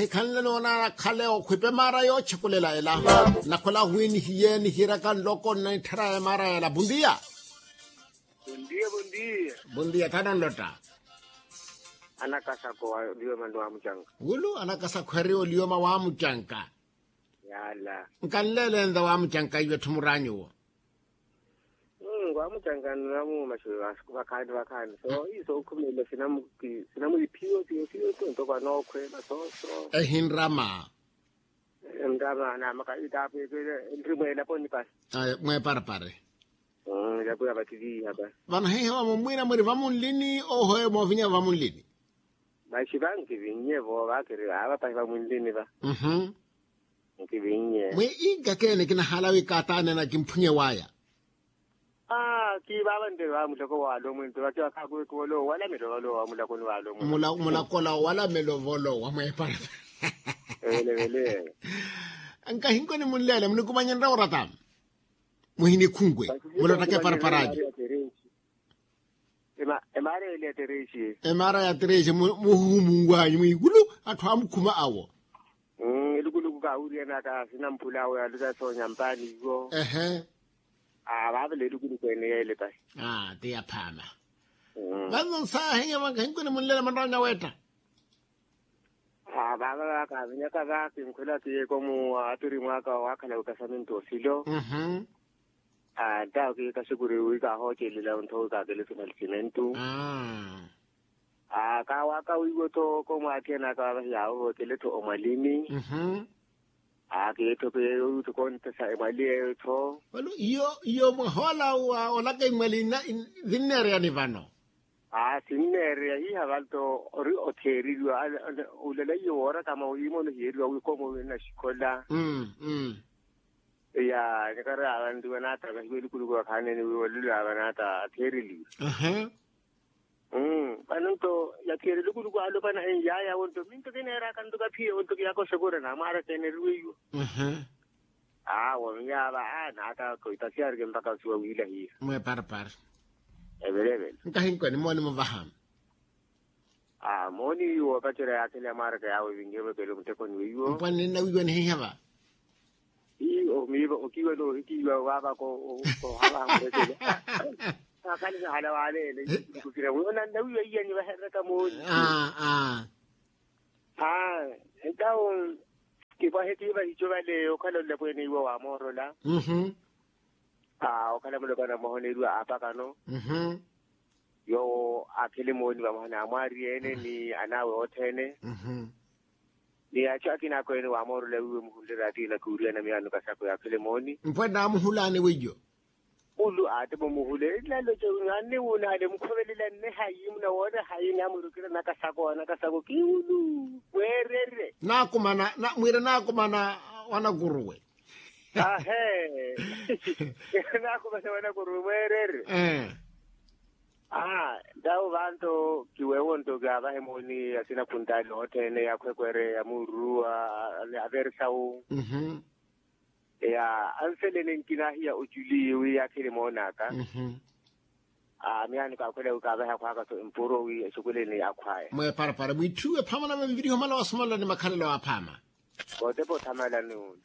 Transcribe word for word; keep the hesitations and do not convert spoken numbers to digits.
Khanle noonana khale okhwipe maara yoochekulela ela. Nakhola wi nihiye nihiraka nloko nnaitthara ya maara yela bundiya. Bundiya thananlotta. Anakasakho olioma ni wamucanka. Wulu anakasakho eri olioma wamucanka. Yala. Nkanleelenza wamucanka iwe tthumuraanyuwo. Ngwamucanka nnamuuma xeyo. Vakhaani vakhaani so iso okhumelela. Sinamwiphiyo siyo siyo tonto kwanookhweela sooso. Ehinrama. Nrama namaka itaapeepele. Nri mweelaponi pasi. Mweeparapare. Yakuya vattiliiha pa. Vano hihiwa mummwina mwiri vamunlini ohoye moovinya vamunlini. Maxi va nkivinnye vo vakiri ava pahi vamunlini va. Nkivinnye. Mwi inkakeene kinahala wi kaataanena kimphunye waya. Aa kiivaava nte va mulako waalomwe nte vakiwakhakuwe kiwolowa walamelo volowa mulakoni waalomwe. Mulakola walamelo volowa mweepara. Evele evele. Nkahinkoni munleele munikumanyererya orata. Muhinikhunkwe mulottaka eparaparaani. Emaara ya terexe muhuhumunwanyu mwiikulu. Atthu amukhuma awo. Elukuluku kaawiriyanaka sinamphula awo yalutha soonya mpaani iwo. Ehe. Vaavela elukuluku ene yeele pahi. Ti yaphaama. Vanno nsaahinya vankahinkuni munlela manranya weetta. Vaava kavinyaka va kinkhwela kiyeeko mu aturi mwaaka waakhala wikasamintu osilo. Ntawo kiikasukuri wi kaahoocelela ontho wi kaakele sinalisimentu. Kaawaka wiiwo-tho komwaathiyanaka vahi yaawo vookele-tho omwalini. Kiitho kiyeyo kontesa emwali yeyo-tho. Walo iyo iyo mwahoola wa olaka imwali. Vinneereyani vano. Aa sinneereya hiiha vanto ori otheereriwa. Ulela iyo woorakama wiimona ohiyeriwa wi komo winaxikhola. Ya nikari avanriwa naata vahiwa elukuluku vakhaanene wi olelo ava naata atheereliwe. Vano nto yakhiyela elukuluku alopana enyaya wonto minto kineeraka nto kaphiye wonto kiyaka oxekura namwaara keeneriwe iwo. Awo miyaava a naata koitasiya arike mpakha osiwa wiilahiya. Mweeparapara. Evele evele. Nkahinkoni mooni muvaha. Mooni woopacerya yaakhela ya mwaaraka yaawe vinhevo ekele muttekoni weiwo. Mpwanne nnawiiwa nihiiha va. Ii omiiva okiiwa noohikiiwa waavaka. Ohava hamurekele. Akhalisahala waaleele ikukira mwiyo nannawiiwa iyani vahereraka mooni. Aa. Aa entawo kipwahe kiiva hico vale okhala olapweene iwo waamoorola. Okhala mulopana mmoha oneeriwa aapakano. Yoowo aakhele mooni vamoha n'amwaari ene ni an'awe othene. Ni achu akina akweene waamoorola wiiwe muhunle raati na kuuriyana miyaano kasakho yaakhele mooni. Mpwe naamuhulaani weiyo. Ulu aate momuhule nlaloce. Anne wuunaale mukhovelela nne hayi munawoona hayi namurukira nakasako anakasako kiiwulu. Mweererye. Naakumana mwiire naakumana wanakuruwe. Ahe. Naakumana wanakuruwe mweererye. Aa ntawo vanto kiweewo nto kaavahe mooni asina khuntaali othene yaakhwekwere yamuuruwa. Aveersawu. Ya anselene nkinahiya oculi wi yaakhele moonaka. Miyaani kaakhwela wi kaavahe akhwaaka so empuro wi esukuleni akhwaya. Mweeparapara mwiitthiwe phaama na viviriho mala wasomolela ni makhalelo aaphaama. Kootepa othamalani unu.